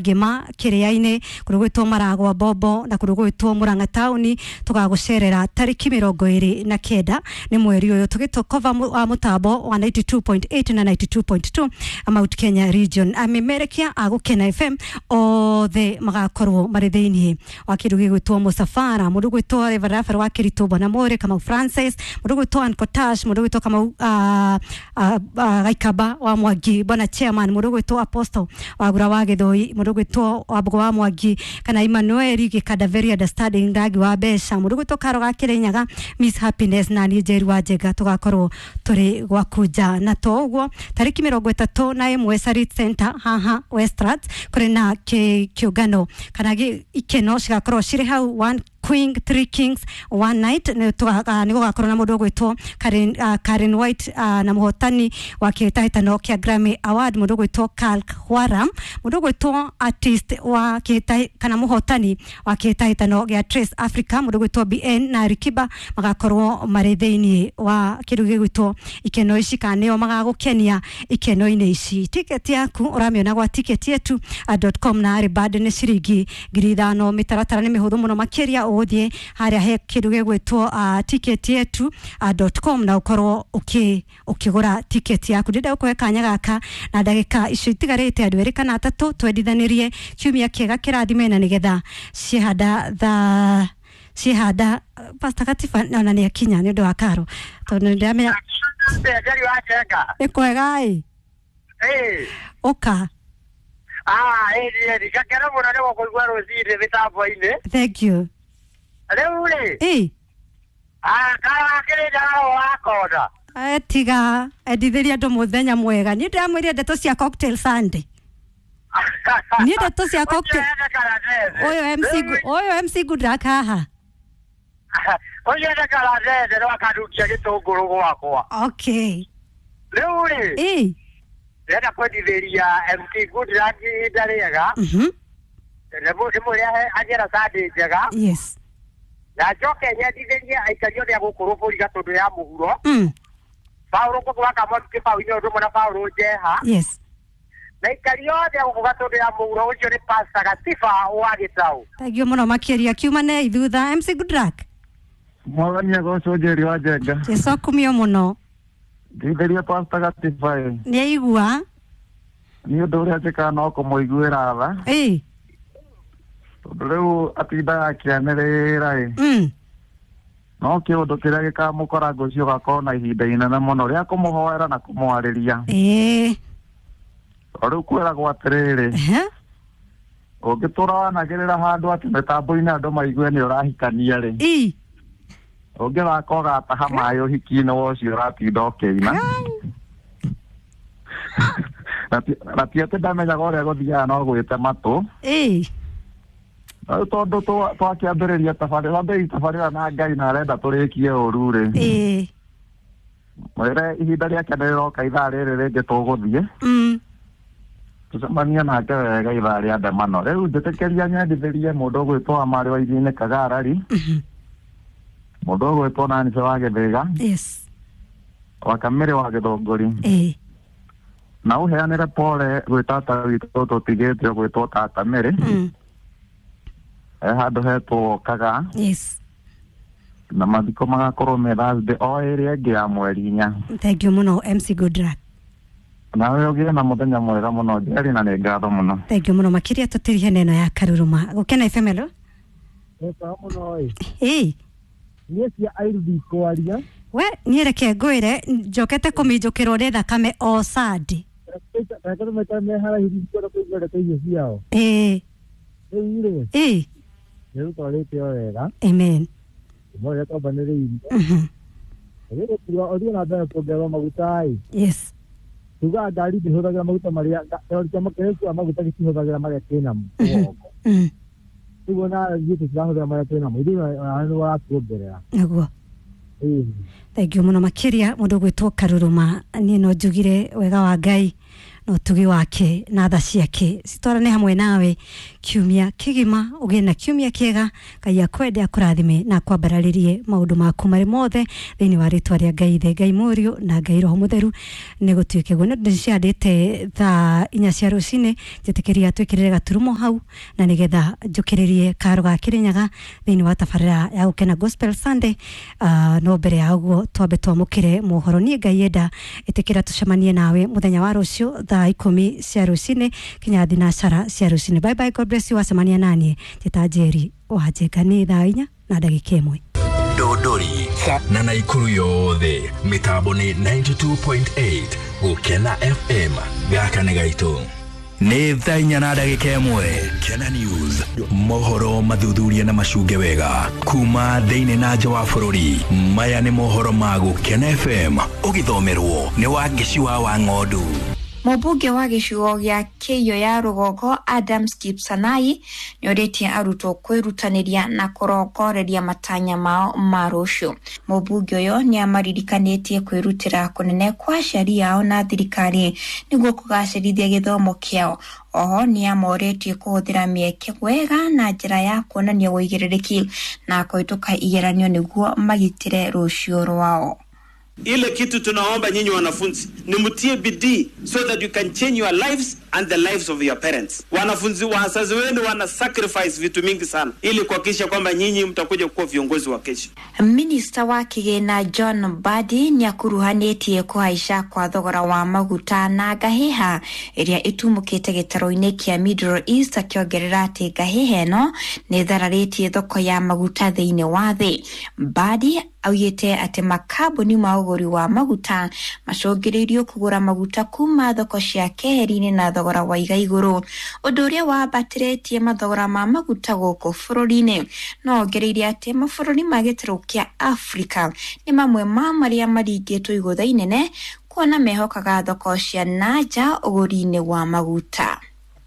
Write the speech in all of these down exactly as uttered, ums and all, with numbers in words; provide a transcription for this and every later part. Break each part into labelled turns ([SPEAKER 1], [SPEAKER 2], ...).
[SPEAKER 1] Kangema Kiriaini kundu gwitwo Maragwa Bombo na kundu gwitwo Murang'a tauni tugagucerera tariki mirongo iri na kenda ni mweri uyu tugitokova wa mutambo wa ninety two point eight na ninety two point two Mount Kenya region. Amemerekia a Gukena F M othe magakorwo mari thiini wa kindu gigwitwo musafara. Mundu gwitwo Reverend Rafael wa Kiritu Bwana More Kamau Francis, mundu gwitwo Ankotash, mundu gwitwo Kamau uh, uh, uh, Gaikaba wa Mwangi Bwana Chairman, mundu gwitwo Apostle wa Gura wa Githoi, mundu gwitwo Wambugu wa Mwangi kana Emmanuel Gikanda very understanding Ndagi wa Mbeca, mundu gwitwo Karo ga Kirinyaga Miss Happiness na ni Njeri wa Njega tugakorwo turi gwakunja. Na to uguo tariki mirongo itatu na imwe Sarit Center haha Westlands kuri na kiungano kana ikeno cigakorwo ciri hau one Queen Three Kings One Night ni gugakorwo na mundu ugwitwo Karen, uh, Karen White uh, na muhotani wa kihĩtahĩtano kia Grammy Award mundu ugwitwo Karl Hwaram, mundu ugwitwo artist wa kihĩtahĩ kana muhotani wa kihĩtahĩtano gia Trace Africa mundu ugwitwo B N na Rikiba magakorwo mari thiini wa kindu gigwitwo ikeno ici kana nio magagukenia ikeno-inĩ ici. Tiketi yaku uramiona gwa ticket yetu dot com na ari band ni ciringi ngiri ithano. Mitaratara ni mihuthu muno makiria uthie haria he kindu gigwitwo uh, ticket yetu dot com na ukorwo uki ukigura ticket yaku. Ndenda gukuhe kanya gaka na ndagika icio itigarite andu eri kana atatu twendithanirie kiumia kiega kirathime na nigetha cihanda tha cihanda Pastor Katifa ona ni akinya ni undu wa karo tondu ndiramenya ni kwega ĩ uka
[SPEAKER 2] ah ĩ ĩ gakena muno ni gũkũigua rũcinĩ mĩtambo-inĩ.
[SPEAKER 1] Thank you.
[SPEAKER 2] Rĩu rĩ
[SPEAKER 1] ĩ
[SPEAKER 2] ah kara kĩrĩnyaga wakona
[SPEAKER 1] eh tiga endithĩria andũ mũthenya mwega. Niĩ ndĩramwĩrire ndeto cia cocktail Sunday. Niĩ ndeto cia cocktail ũyũ M C ũyũ M C Goodluck haha
[SPEAKER 2] ũcio nĩ karatete no akanukia gĩtũngũrũ gwakwa.
[SPEAKER 1] Okay.
[SPEAKER 2] Rĩu rĩ
[SPEAKER 1] ĩ
[SPEAKER 2] ndĩrenda kwendithĩria M C Goodluck ihinda rĩega.
[SPEAKER 1] Mhm.
[SPEAKER 2] Ndĩmwĩre agĩra Sunday njega.
[SPEAKER 1] Yes.
[SPEAKER 2] Na njoke nyendithĩrie aikari othe a gũkũ Rũbũri Gatũndũ ya mũhuro.
[SPEAKER 1] Mm.
[SPEAKER 2] Paũlũ Ngũgũ wa Kamothu Kĩbaũ-inĩ ũndũ ũmwe na Paũlũ Njeha.
[SPEAKER 1] Yes.
[SPEAKER 2] Na aikari othe a gũkũ Gatũndũ ya mũhuro ũcio nĩ Pastor Gatiba wa Gĩtaũ.
[SPEAKER 1] Thank you mũno makĩria. Kiumane thutha M C Goodluck.
[SPEAKER 3] Mwathani agocwo Njeri wa Njenga.
[SPEAKER 1] Jesu akumio mũno.
[SPEAKER 3] Ndeithĩria Pastor Gatiba ĩ.
[SPEAKER 1] Nĩ aigua.
[SPEAKER 3] Nĩ ũndũ ũrĩa njĩkaga no kũmũiguĩra tha.
[SPEAKER 1] Ĩ.
[SPEAKER 3] Tondũ rĩu atindaga akĩanĩrĩra ĩ.
[SPEAKER 1] Mm.
[SPEAKER 3] No kĩũndũ kĩrĩa gĩkamũkora ngũcio gakorwo na ihinda inene mũno rĩa kũmũhoera na kũmwarĩria.
[SPEAKER 1] Ĩ.
[SPEAKER 3] O rĩu kwĩragwo atĩrĩrĩ.
[SPEAKER 1] Ehe.
[SPEAKER 3] Ũngĩtũra wanagĩrĩra handũ atĩ mĩtambo-inĩ andũ maigue nĩ ũrahikania rĩ.
[SPEAKER 1] Ĩ.
[SPEAKER 3] Ũngĩthaka ũgataha maĩ ũhiki-inĩ wa ũcio ũratinda ũkĩina. Na ti atĩ ndamenyaga ũrĩa gũthiaga no gwĩte matũ.
[SPEAKER 1] Ĩ.
[SPEAKER 3] Rĩu tondũ twakĩambĩrĩria tabarĩra twambĩrĩria tabarĩra na Ngai na arenda tũrĩkie ũru rĩ.
[SPEAKER 1] Ĩ.
[SPEAKER 3] Mwĩre ihinda rĩake nĩ rĩroka ithaa rĩrĩ rĩngĩ tũgũthiĩ.
[SPEAKER 1] Mm.
[SPEAKER 3] Tũcemanie nake wega ithaa rĩa ndemano. Rĩu njĩtĩkĩria nyendithĩrie mũndũ ũgwĩtwo Amarĩ wa Iria-inĩ Kagarari. Mũndũ ũgwĩtwo Nancy wa Gĩthĩga.
[SPEAKER 1] Yes.
[SPEAKER 3] Wa Kamĩrĩ wa Gĩthũngũri.
[SPEAKER 1] Ĩ.
[SPEAKER 3] Na ũheanĩre pole gwĩ tata witũ tũtigĩte ũgwĩtwo tata Mĩrĩ.
[SPEAKER 1] Mm.
[SPEAKER 3] E handũ hetwo Kaga.
[SPEAKER 1] Yes.
[SPEAKER 3] Na mathiko magakorwo me Thursday o ĩrĩa ĩngĩ ya mweri inya.
[SPEAKER 1] Thank you mũno M C Goodluck.
[SPEAKER 3] Nawe ũgĩe na mũthenya mwega mũno Njeri na nĩ ngatho mũno.
[SPEAKER 1] Thank you mũno makĩria tũtirihe neno ya Karuruma. Gũkena F M hello.
[SPEAKER 4] Eka mũno ĩ.
[SPEAKER 1] Ĩ.
[SPEAKER 4] Niĩ cia Airu ndikwaria.
[SPEAKER 1] We niĩ reke ngwĩre njokete kũminjũkĩrwo nĩ thakame o Sunday.
[SPEAKER 4] Reke tũmaikare me haraihu ndikwenda kũigua ndeto icio ciao.
[SPEAKER 1] Ĩ.
[SPEAKER 4] Rĩu rĩ.
[SPEAKER 1] Ĩ.
[SPEAKER 4] Nĩ rũtwarĩte o wega.
[SPEAKER 1] Amen.
[SPEAKER 4] Ũmwe twambanĩrĩirie.
[SPEAKER 1] Mhm.
[SPEAKER 4] Rĩrĩ kuga ũthiĩ na mbere kuongererwo maguta ĩ.
[SPEAKER 1] Yes.
[SPEAKER 4] Tugaga ngari ndĩhũthagĩra maguta marĩa kĩama kĩrĩa gĩkuaga maguta gĩtihũthagĩra marĩa kĩnamo mũgongo.
[SPEAKER 1] Mm.
[SPEAKER 4] Rĩu ona ithuĩ tũtirahũthĩra marĩa twĩnamo ithuĩ nĩ ũratuongerera.
[SPEAKER 1] Naguo.
[SPEAKER 4] Ĩĩ.
[SPEAKER 1] Thank you mũno makĩria mũndũ ũgwĩtwo Karuruma. Niĩ no njugire wega wa Ngai na ũtugi wake na tha ciake citwarane hamwe nawe kiumia kĩgima. Ũgĩe na kiumia kĩega. Ngai akwende, akũrathime na akwambararĩrie maũndũ maku marĩ mothe thĩinĩ wa rĩtwa rĩa Ngai Ithe, Ngai Mũriũ na Ngai Roho Mũtheru. Nĩ gũtuĩke guo. Nĩ ndĩciandĩte thaa inya cia rũcinĩ, njĩtĩkĩria twĩkĩrĩre gaturumo hau na nĩgetha njũkĩrĩrie karo ga Kĩrĩnyaga thĩinĩ wa tabarĩra ya Gũkena Gospel Sunday. uh, no mbere ya ũguo twambe twamũkĩre mohoro. Niĩ Ngai enda, ĩtĩkĩra tũcemanie nawe mũthenya wa rũciũ thaa ikũmi cia rũcinĩ kinya thinacara cia rũcinĩ. Bye bye, God bless you. Wacemania naniĩ njĩta Njeri wa Njenga. Nĩ thaa inya na ndagĩka ĩmwe.
[SPEAKER 5] Dodori na Naikuru yothe mitambo ni ninety-two point eight Gukena F M gaka nĩ gaitũ.
[SPEAKER 6] Nĩ thaa inya na ndagĩka ĩmwe.
[SPEAKER 5] Gukena News, mohoro mathuthuria na macunge wega kuma thĩinĩ na nja wa bũrũri. Maya nĩ mohoro ma Gukena F M ũgĩthomerwo nĩ Wangeci wa Wang'ondu.
[SPEAKER 7] Mũmbunge wa gĩcigo gĩa Kĩiyũ ya rũgongo Adams Kipsanai nĩorĩtie arutwo kwĩrutanĩria na kũrongoreria matanya mao ma rũciũ. Mũmbunge ũyũ nĩamaririkanĩtie kwĩrutĩra kũnene kwa aciari ao na thirikari nĩguo kũgacĩrithia gĩthomo kĩao. Oho nĩamorĩtie kũhũthĩra mĩeke wega na njĩra ya kuonania ũigĩrĩrĩki na kũhĩtũka igeranio nĩguo magitĩre rũciũ rwao.
[SPEAKER 8] Ile kitu tunaomba nyinyi wanafunzi ni mtie bidii so that you can change your lives and the lives of your parents. Wanafunzi, wazazi wenu wana sacrifice vitu mingi sana ili kuhakikisha kwamba nyinyi mtakuja kuwa viongozi wa kesho.
[SPEAKER 7] Minista wa kĩgĩna John Mbadi nĩakuruhanĩtie kũhaica kwa thogora wa maguta na ngahĩha ĩrĩa ĩtumũkĩte gĩtarũ-inĩ kĩa Middle East, akĩongerera atĩ ngahĩha ĩno nĩ ĩthararĩtie thoko ya maguta thĩinĩ wa thĩ. Mbadi augĩte atĩ makambuni ma ũgũri wa maguta macũngĩrĩirio kũgũra maguta kuma thoko cia keheri-inĩ na thogora wa iga igũrũ, ũndũ ũrĩa wambatĩrĩtie mathogora ma maguta gũkũ bũrũri-inĩ. No ongereire atĩ mabũrũri ma gĩtarũ kĩa Afrika nĩ mamwe ma marĩa maringĩtwo igũtha inene kuona mehokaga thoko cia na nja ũgũri-inĩ wa maguta.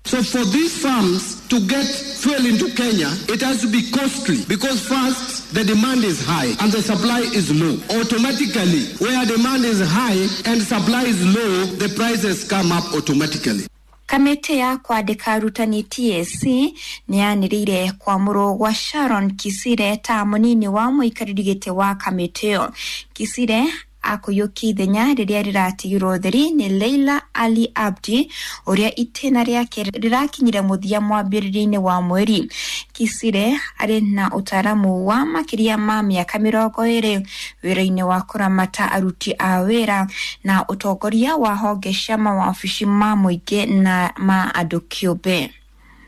[SPEAKER 9] So for these farms to get fuel into Kenya, it has to be costly because first, the demand is high and the supply is low. Automatically, where demand is high and supply is low, the prices come up automatically.
[SPEAKER 7] Kamĩtĩ ya kwandĩka arutani T S C nĩyanĩrĩire kwamũrwo gwa Sharon Kisire ta mũnini wa mũikarĩri gĩtĩ wa kamĩtĩ ĩyo. Kisire akũiyũkia ithenya rĩrĩa rĩratigirwo theri nĩ Leila Ali Abdi ũrĩa itĩna rĩake rĩrakinyire mũthia mwambĩrĩrio-inĩ wa mweri. Kisire arĩ na ũtaaramu wa makĩria ma mĩaka mĩrongo ĩrĩ wĩra-inĩ wa kũramata aruti a wĩra na ũtongoria wa honge cia mawabici ma mũingĩ na ma andũ kĩũmbe.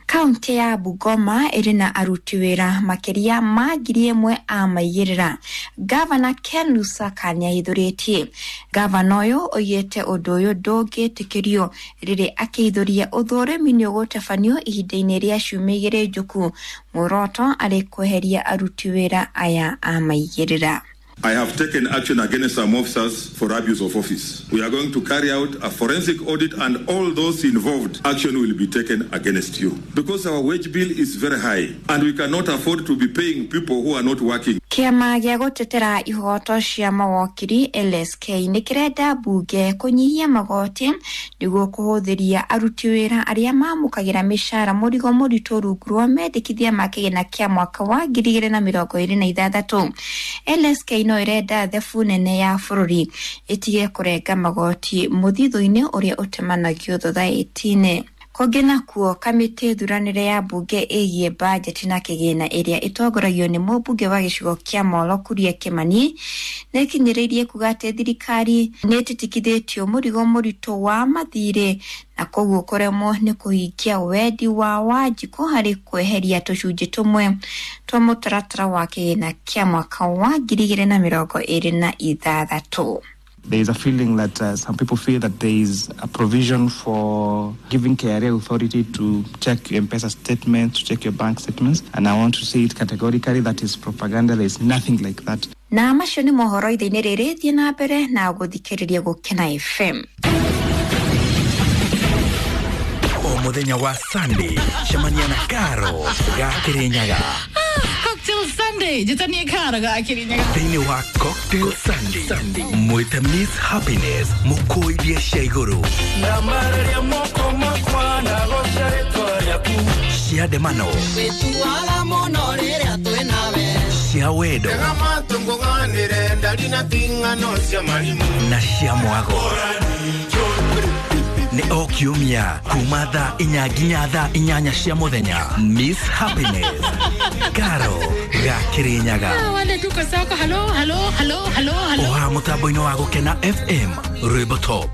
[SPEAKER 7] Kaunti ya Bungoma ĩrĩ na aruti wĩra makĩria ma ngiri ĩmwe a maigĩrĩra. Gavana Ken Lusaka nĩahithũrĩtie. Gavana ũyũ oigĩte ũndũ ũyũ ndũngĩtĩkĩrio rĩrĩ akĩhithũria ũthũrimi nĩũgũtabanio ihinda-inĩ rĩa ciumia igĩrĩ njũku. Muoroto arĩ kweheria aruti wĩra aya a maigĩrĩra.
[SPEAKER 10] I have taken action against some officers for abuse of office. We are going to carry out a forensic audit and all those involved, action will be taken against you. Because our wage bill is very high and we cannot afford to be paying people who are not working.
[SPEAKER 7] Kĩama gĩa gũtetera ihoto cia mawokiri L S K nĩ kĩrenda mbunge kũnyihia magoti nĩguo kũhũthĩria aruti wĩra arĩa mamũkagĩra mĩcara mũrigo mũritũ rungu rwa mendekithia ma kĩgĩna kĩa mwaka wa ngiri igĩrĩ na mĩrongo ĩrĩ na ithathatũ. L S K no ĩrenda thebu nene ya bũrũri ĩtige kũrenga magoti mũthithũ-inĩ ũrĩa ũtemanagio thothaitĩ-inĩ. Kũngĩ nakuo, kamĩtĩ thuranĩre ya mbunge ĩgiĩ bajeti na kĩgĩna ĩrĩa ĩtongoragio nĩ mũmbunge wa gĩcigo kĩa Molo Kuria Kimani nĩĩkinyĩrĩirie kuga atĩ thirikari nĩĩtitikithĩtio mũrigo mũritũ wa mathirĩ na koguo kũremwo nĩ kũhingia wendi wa Wanjikũ harĩ kweheria tũcunjĩ tũmwe twa mũtaratara wa kĩgĩna kĩa mwaka wa ngiri igĩrĩ na mĩrongo ĩrĩ na ithathatũ.
[SPEAKER 11] There is a feeling that uh, some people feel that there is a provision for giving K R A authority to check your M-Pesa statements, to check your bank statements. And I want to say it categorically, that is propaganda. There is nothing like that.
[SPEAKER 7] Na macio nĩ mohoro ithe-inĩ rĩrĩ, thiĩ na mbere na gũthikĩrĩria Gũkena F M.
[SPEAKER 5] O mũthenya wa Sunday, cemania na Karo ga Kĩrĩnyaga.
[SPEAKER 12] Cocktail Sunday njĩtanie karo ga Kĩrĩnyaga.
[SPEAKER 5] Thĩinĩ wa Cocktail Sunday, mwĩte Miss Happiness mũkũithie cia igũrũ
[SPEAKER 13] Ndamararia moko makwa ndagoca rĩtwa rĩaku
[SPEAKER 5] cia ndemano
[SPEAKER 13] wĩtuaga mũno rĩrĩa twĩ nawe
[SPEAKER 5] cia wendo
[SPEAKER 13] tega matũ ngũganĩre ndari na ting'ano cia marimũ
[SPEAKER 5] na cia mwago. Nĩ o kiumia kuma thaa inya nginya thaa inyanya cia mũthenya. Miss Happiness Karo ga Kĩrĩnyaga.
[SPEAKER 12] Ah, wale tuko soko. Halo halo halo halo halo.
[SPEAKER 5] Oha mũtambo-inĩ wa Gũkena F M, rwĩmbo top.